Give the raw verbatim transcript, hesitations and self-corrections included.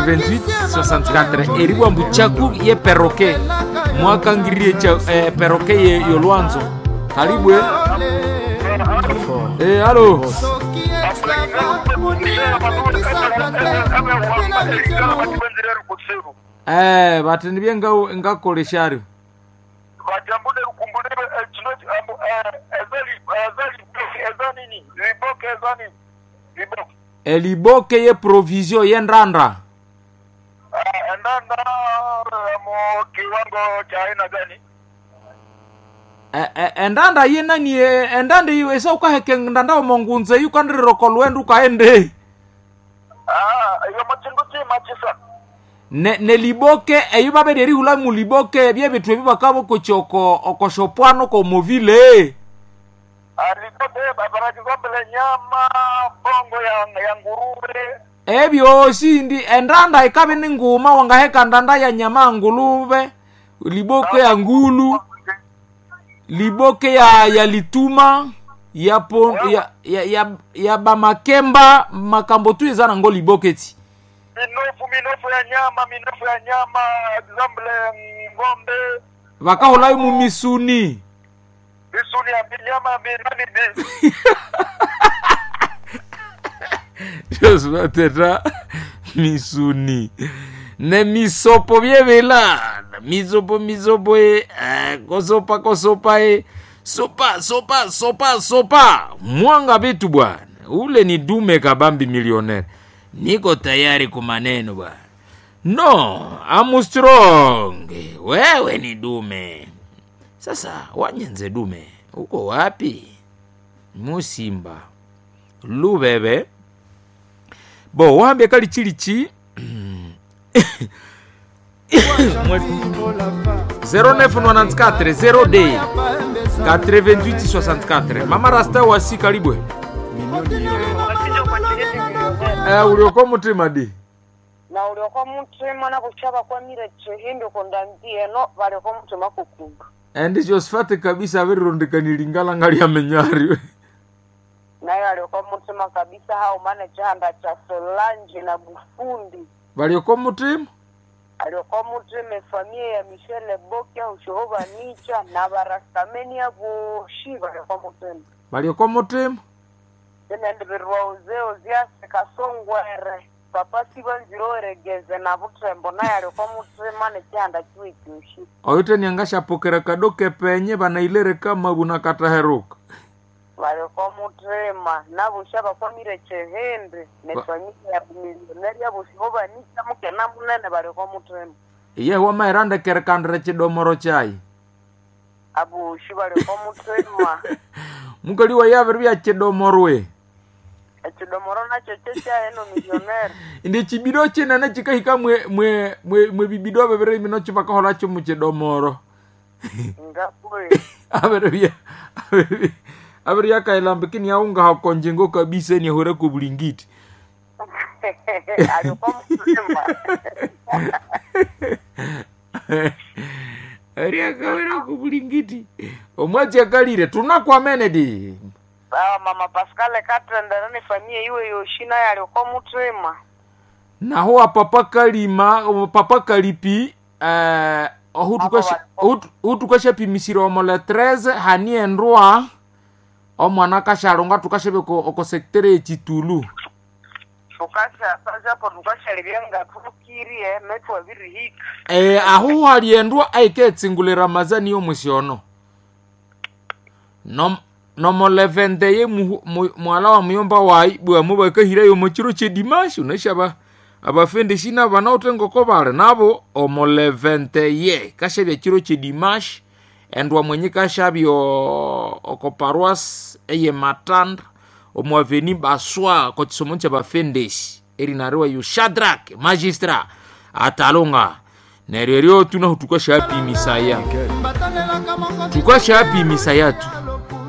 Vingt-huit soixante-quatre eribwa mbu chaku ye perroquet mwakangiririe cha eh, perroquet ye yolwanzo kalibwe eh, alo. Eh, bati nibye nga ngakolesharyo eliboke ye provision ye ndanda Endanda mu kiwango cha aina gani? E- e- endanda ye nani e- endanda iyo esa ukaheke ndanda omongunze yukandirira kolwenda ukaende. Ah, iyo machindu chima chisa. Ne neliboke eyo babere erihula muliboke byebintu ebi bakabokocha oko okoshopwano komovile. Alipote babara nyama bongo ya ya nguruwe. Ebyosi ndi endanda ikabe ni nguma wangaheka ndanda ya nyama ya nguluve, liboke ya ngulu, liboke ya ya lituma ya pon, ya, ya, ya, ya bamakemba makambo tu eza nango liboke ti. Minofu minofu ya nyama minofu ya nyama example ng'ombe. Vakaholayo mumisuni. Bisuni ya nyama binani bi. Josvateta misuni ne misopo byebela misopo misopo e eh, kosopa kosopa e sopa sopa sopa sopa mwanga vitu bwana ule ni dume kabambi millionaire niko tayari kwa maneno bwana no I'm strong wewe ni dume sasa wanyenze dume uko wapi musimba lubebe bo wambye kali chilichi zéro neuf quatre-vingt-quatorze zéro D quatre-vingt-huit soixante-quatre mama rasta wasi kalibwe. Eh, ulioko mutima di Na ulioko mutima na kuchava kwa mire chihimbi kundambie no valiko mutima kukumba. Endi Josephat kabisa avirirondekani ngali amenyari. Nayo alioko mutima kabisa hao maana chihanda cha Solange na Bufundi. Valioko mutima. Alioko mutima efamia ya Michelle Bokia ushohova nicha na barastamenia voshi valiko mutima. Valioko mutima. Tena ndivirwa uzeo zyase kasongwere papa sivanziroeregeze na butembo naye alioko mutima nechihanda chiwe chushi. Oyo niangashapokera kadoke penye banailere kama bunakataheruka. Valiko mutima navusha vakwamire chihimbi nefamilia ya milioneri yavushivo vanica mukena munene valiko mutima. Iye wamairandekere kandire chidomoro chai. Avushi valiko mutima. Mukali wa yaviri vya chidomorwe. Echidomoro nacho chechaeno milioneri. Ndi chibido chinene chikahika mwe mwe mwe, mwe bibido bibiri bino chivakahola mu chidomoro. Ngakwe. Aviri vya aviri aviri yakailambikini yaunga hakonjengo kabisa ni hore kubulingiti. Aliko mutima. Ariakawera kubulingiti omwachi akalire tunakwamene di. Sawa mama Pascal katendera ni familia iwe yoshi naye aliko mutima. Naho apapa kalima papa kalipi eh, ohu tukashapimisira omo le treize hani endwa omwana kashalonga tukashebe oko sektere echitulu. Tukasha sajapo tukashalibyenga tukirie metu abirihika. Eh, ahu hali endwa aiketsingule ramazani yomusiono nom nomolevende ye mu- mu- mwala wa muyomba wayi bwamu bakahirayo muchiro chedimashi unashaba abafendeshi nabana ngoko bali nabo omolevente ye kashabya chiro chedimashi endwa mwenye kashabya oko paroisse eye matanda omu aveni baswa kochisomo cha bafendeshi erinariwa yu Shadrack magistrat atalonga neryo eryo tunahu tukashapimisaya tukashapimisaya tu.